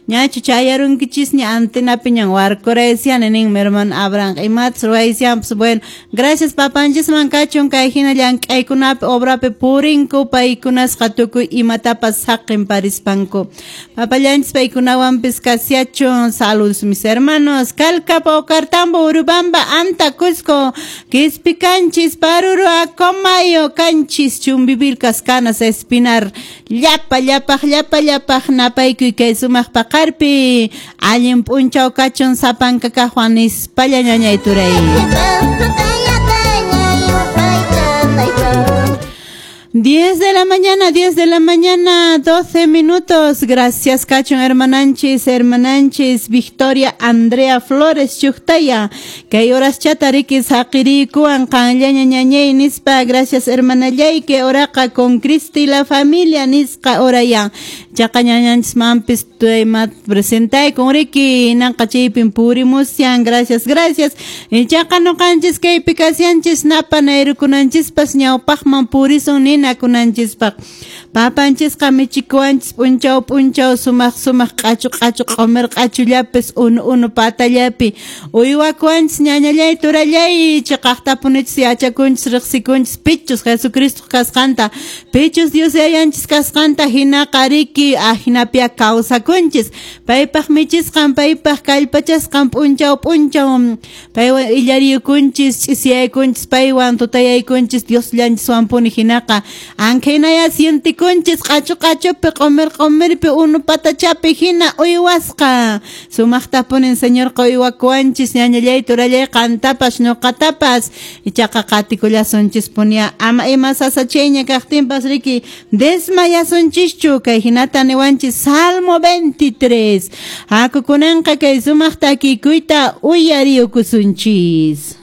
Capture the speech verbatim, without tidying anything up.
Ñachu chayarunkichisña antenapiñan warkuraysiani ninmi hermano Abraham. Imatas ruwaysianpas. Bueno, gracias papanchisman kachun kay hina llank'aykunapi obrapi purinku paykunasqa tukuy imatapas saqin parispanku. Papallanchis paykunawanpis kasiachun. Saludos mis hermanos. Calca, Paucartambo, Urubamba, Anta, Cusco, Quispicanchis, Paruro, Acomayo, Canchis, Chumbivilcas, Canas, Espinar, Llapa, llapaj, llapa, llapaj, napaykuy kay sumaq paqarpi, allin p'unchaw kachun sapanka kaqwan nispalla ñañay turay. diez de la mañana, diez de la mañana, doce minutos. Gracias, cachon, hermananchis, hermananchis, Victoria Andrea Flores, Chuktaya. Que horas chatariki saqirikuan, qanllaña ñañay nispa. Gracias, hermanallay, que oraqa con Cristo y la familia nisqa oraya. Chaqa ñañanchis mampis tuaymat presentay con Ricky, nanqa chaypin purimusian. Gracias, gracias. Chaqa noqanchis kaypi kasianchis napa nayrukunanchispas ñawpaqman purisun ni nakunanchispaq. Papanchisqa michikuwanchis p'unchaw p'unchaw sumaq sumaq q'achu q'achu q'umir q'achullapis unu unu patallapi uywakuwanchis ñañallay turallay chiqaqtapunichis yachakunchis riqsikunchis pichus Jesucristo kasqanta pichus Dios yayanchis kasqanta hinaqa riki ahinapia kawsakunchis paypaq michisqan paypaq kallpachasqan p'unchaw p'unchaw paywan illariykunchis ch'isiyaykunchis paywan tutayaykunchis Dios llanchiswanpuni hinaqa ankaynaya sientikunchis q'achu q'achupi q'umir q'umirpi unu patachapi hina uywasqa sumaqtapunin Señorqa uywakuwanchis ñañallay turallay qantapas ñuqatapas ichaqa qatikullasunchispunia ama ima sasachayña kaqtinpas riki desmayasunchischu kay hinata niwanchis Salmo veintitrés hakukunanqa kay sumaq takikuyta uyariyukusunchis.